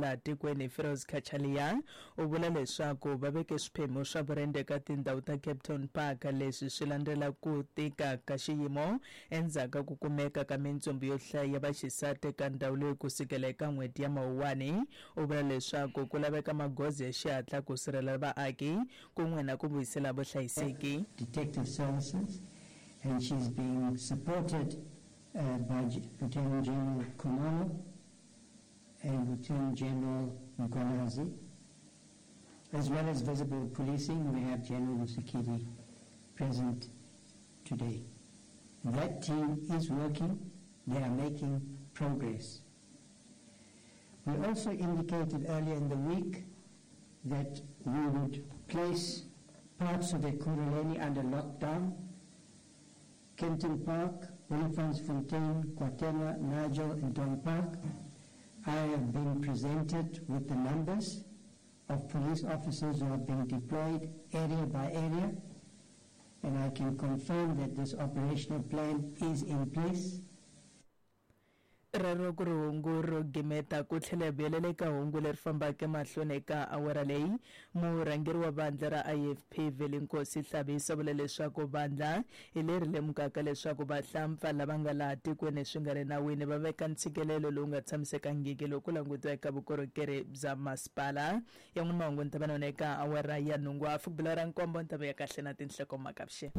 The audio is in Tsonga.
laha tikweni Firoz Cachalia u vula leswaku va veke swiphemu swa vurende eka tindhawu ta Kempton Park. Leswi swi landzela ku tika ka xiyimo endzhaku ka ku kumeka ka mintsumbu yo hlaya ya vaxisati eka ndhawu leyi ku sukela eka n'hweti ya Mawuwani. U vula leswaku ku laveka magoza ya xihatla ku sirhelela vaaki kun'we na ku vuyisela vuhlayiseki. Detective Services and she's being supported by Lieutenant General Khumalo and Lieutenant General Mkhwanazi. As well as visible policing, we have General Musikidi present today. That team is working. They are making progress. We also indicated earlier in the week that we would place parts of Ekurhuleni under lockdown. Kempton Park, Olifantsfontein, KwaThema, Nigel and Dawn Park. I have been presented with the numbers of police officers who have been deployed area by area, and I can confirm that this operational plan is in place. Rero ku ri hungu ro gimeta ku tlhela hi vuyelela eka hungu leri fambaka emahlweni eka awara leyi. Murhangeri wa vandla ra IFP Vhelenkosi Hlabisa vula leswaku vandla hi leri lemukaka leswaku vahlampfa lava nga laha tikweni swi nga ri nawini va veka ntshikelelo lowu nga tshamisekangiki loko ku langutiwa eka vukorhokeri bya masipala. Ya n'wina mahungu ni ta va na wona eka awara ya nhungu hafu ku bila ra nkombo ni ta vuya kahle na tinhlokomhaka. Avuxeni.